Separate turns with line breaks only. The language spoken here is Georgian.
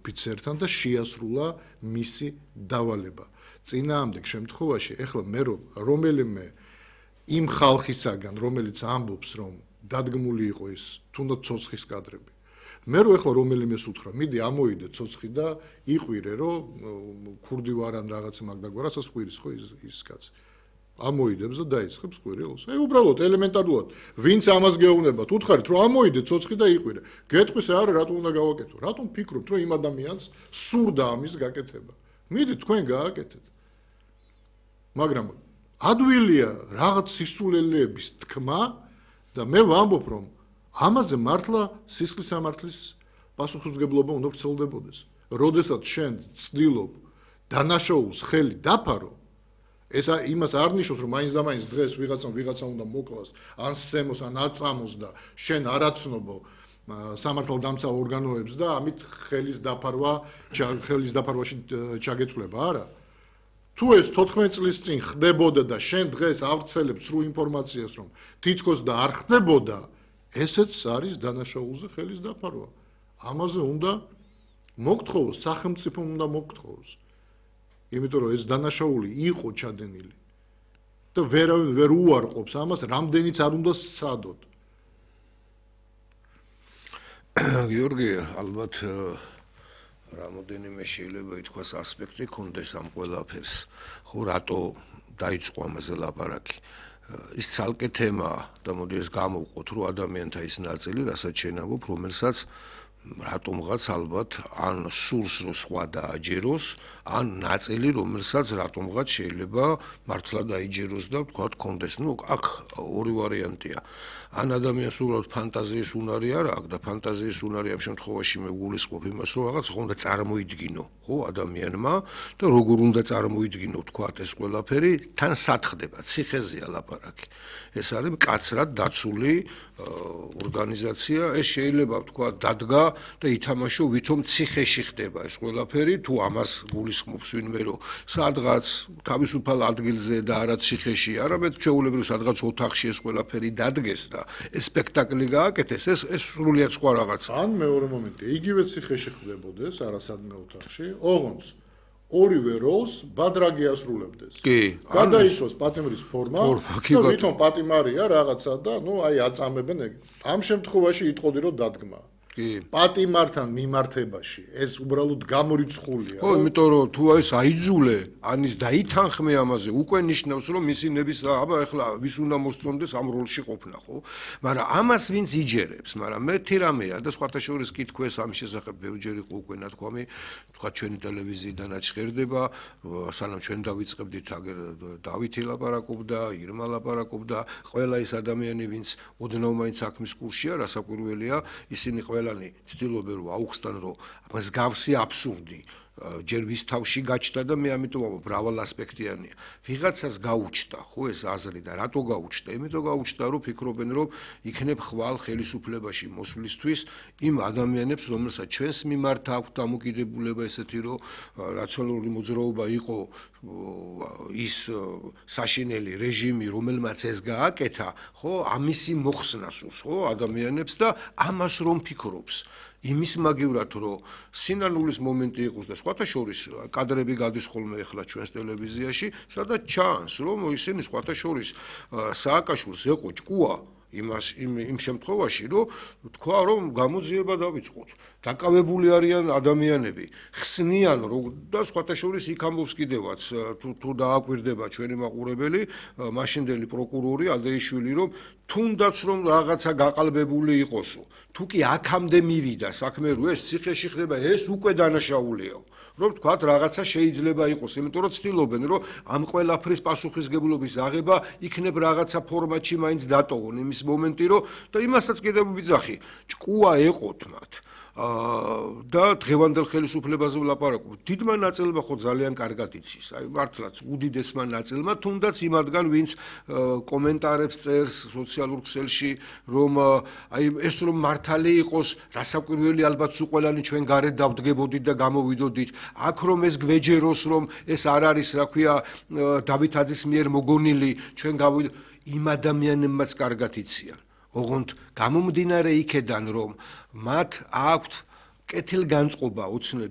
ოფიცერთან და შეასრულა მისი დავალება. წინააღმდეგ შემთხვევაში ეხლა მე რომელიმე იმ ხალხისაგან, რომელიც ამბობს, რომ დადგმული იყო ის თუნდაც ცოცხის კადრები. მე ეხლა რომელიმეს უთხრა, მიდი ამოიდე ცოცხი და იყვირე, რომ ქურდი ვარ ან რაღაცა მაგდაგვარასაც ყვირის ხო ის კაცი. ამოიდებს და დაიწყებს ყვირილს. უბრალოდ ელემენტარულად, ვინც ამას გეუბნებათ, უთხარით, რომ ამოიდე ცოცხი და იყვირე. გეტყვის არა, რატომ უნდა გავაკეთო? რატომ ფიქრობთ, რომ იმ ადამიანს სურდა ამის გაკეთება? მიდი თქვენ გააკეთეთ. მაგრამ ადვილია რაღაც სისულელეების თქმა და მე ვამბობ, რომ ამაზე მართლა სისხლის სამართლის პასუხისმგებლობა უნდა ვრცელდებოდეს. როდესაც შენ ცდილობ დანაშაულს ხელი დაფარო, ეს იმას არ ნიშნავს, რომ მაინც და მაინც დღეს ვიღაცა უნდა მოკლას, ან სცემოს, ან აწამოს და შენ არ აცნობო სამართალდამცავ ორგანოებს და ამით ხელის დაფარვაში ჩაგეთვლება, არა. თუ ეს 14 წლის წინ ხდებოდა და შენ დღეს ავრცელებ სრულ ინფორმაციას, რომ თითქოს და არ ხდებოდა, ესეც არის დანაშაულზე ხელის დაფარვა. ამაზე უნდა მოგთხოვოს, სახელმწიფომ უნდა მოგთხოვოს. იმიტომ რომ ეს დანაშაული იყო ჩადენილი და ვერავინ ვერ უარყოფს ამას, რამდენიც არ უნდა სცადოთ.
გიორგი, ალბათ რამოდენიმე შეიძლება ითქვას ასპექტი ქონდეს ამ ყველაფერს. ხო, რატო დაიწყო ამაზე ლაპარაკი? ის ცალკე თემაა და მოდი ეს გამოვყოთ, რომ ადამიანთა ის ნაწილი, რასაც შენ ამბობ, რომელსაც რატომღაც ალბათ ან სურს რომ სხვა დააჯეროს, ან ნაწილი, რომელსაც რატომღაც შეიძლება მართლა დაიჯეროს და ვთქვათ, კონდეს. ნუ აქ ორი ვარიანტია. ან ადამიანს უბრალოდ ფანტაზიის უნარი არ აქვს და ფანტაზიის უნარი ამ შემთხვევაში მე გულისხმობ იმას, რომ რაღაც ხო უნდა წარმოიდგინო, ხო, ადამიანმა და როგორ უნდა წარმოიდგინო, ვთქვათ, ეს ყველაფერი თან სათხდება, ციხეზეა ლაპარაკი. ეს არის მკაცრად დაცული ორგანიზაცია, ეს შეიძლება ვთქვათ, დადგა და ითამაშო, ვითომ ციხეში ხდება ეს ყველაფერი, თუ ამას გულისხმობს ვინმე, რომ სადღაც თავისუფალ ადგილზე და არა ციხეში, არამედ ჩვეულებრივ სადღაც ოთახში ეს ყველაფერი დადგეს და ეს სპექტაკლი გააკეთეს, ეს სრულიად სხვა რაღაცა.
ან მეორე მომენტი, იგივე ციხეში ხდებოდეს, არასადმე ოთახში, ოღონდ ორივე როლს ბადრაგი ასრულებდეს.
კი,
გადაიცვას პატიმრის ფორმა და ვითომ პატიმარია რაღაცა და ნუ აი აწამებენ ეგ. ამ შემთხვევაში იტყოდი რომ დადგმა. პატიმართან მიმართებაში ეს უბრალოდ გამორიცხულია.
ხო, იმიტომ რომ თუ ეს აიძულე, ანის დაითანხმე ამაზე, უკვე ნიშნავს რომ მისი ნების აბა ეხლა ვის უნდა მოსწონდეს ამ როლში ყოფნა, ხო? მაგრამ ამას ვინც იჯერებს, მაგრამ მეთი რამეა და სხვათა შორის კითხვეს ამ შესახებ ბევრჯერ იყო უკვე ნათქვამი, თქვა ჩვენი ტელევიზიიდან აჩხერდება, სანამ ჩვენ დავიწყებდით აგერ დავითი ლაპარაკობდა, ირმა ლაპარაკობდა, ყველა ის ადამიანი, ვინც ოდნავ მაინც საქმის კურსია, რასაკვირველია, ისინი ყველანი ცდილობენ რომ აუხსნან რომ მსგავსი აბსურდი ჯერ ვის თავში გაჩნდა და მე ამიტომ ვამბობ მრავალ ასპექტიანია. ვიღაცას გაუჩნდა, ხო ეს აზრი და რატო გაუჩნდა? იმიტომ გაუჩნდა რომ ფიქრობენ რომ იქნებ ხვალ ხელისუფლებაში მოსვლისთვის იმ ადამიანებს, რომელსაც ჩვენს მიმართ აქვთ დამოკიდებულება ესეთი რომ რაციონალური მოძრაობა იყო ის საშინელი რეჟიმი, რომელმაც ეს გააკეთა, ხო, ამისი მოხსნა სურს, ხო, ადამიანებს და ამას რომ ფიქრობს. იმის მაგივრად რომ სინანულის მომენტი იყოს და სხვათა შორის კადრები გადის ხოლმე ახლა ჩვენს ტელევიზიაში, სადაც ჩანს რომ ისინი სხვათა შორის სააკაშვილს ეყო ჭკუა იმ შემთხვევაში რომ თქვა რომ გამოძიება დავიწყოთ. დაკავებული არიან ადამიანები, ხსნიან და სხვათა შორის იქ ამბობს კიდევაც თუ დააკვირდება ჩვენი მაყურებელი, მაშინდელი პროკურორი ადეიშვილი რომ თუნდაც რომ რაღაცა გაყალბებული იყოსო. თუ კი აქამდე მივიდა საქმე რომ ეს ციხეში ხდება, ეს უკვე დანაშაულიაო. რომ თქვათ რაღაცა შეიძლება იყოს, იმიტომ რომ ცდილობენ რომ ამ ყველაფრის პასუხისგებლობის აღება იქნებ რაღაცა ფორმატში მაინც დატოვონ იმის მომენტი რომ და იმასაც კიდევ ვიძახი, ჭკუა ეყოთ მათ. და დღევანდელ ხელისუფლებაზე ვლაპარაკობ. დიდმა ნაწილმა ხო ძალიან კარგად იცის, აი მართლაც უდიდესმა ნაწილმა, თუნდაც იმადგან, ვინც კომენტარებს წერს სოციალურ ქსელში, რომ აი ეს რომ მართალი იყოს, რასაკვირველი ალბათ სულ ყველანი ჩვენ გარეთ დავდგებოდით და გამოვიდოდით. აქ რომ ეს გვეჯეროს, რომ ეს არ არის, რა ქვია, დავითაძის მიერ მოგონილი, ჩვენ გავიდოდით, იმ ადამიანებმაც კარგად იციან. ოღონდ გამომდინარე იქედან რომ მათ აქვთ კეთილგანწყობა ოცნების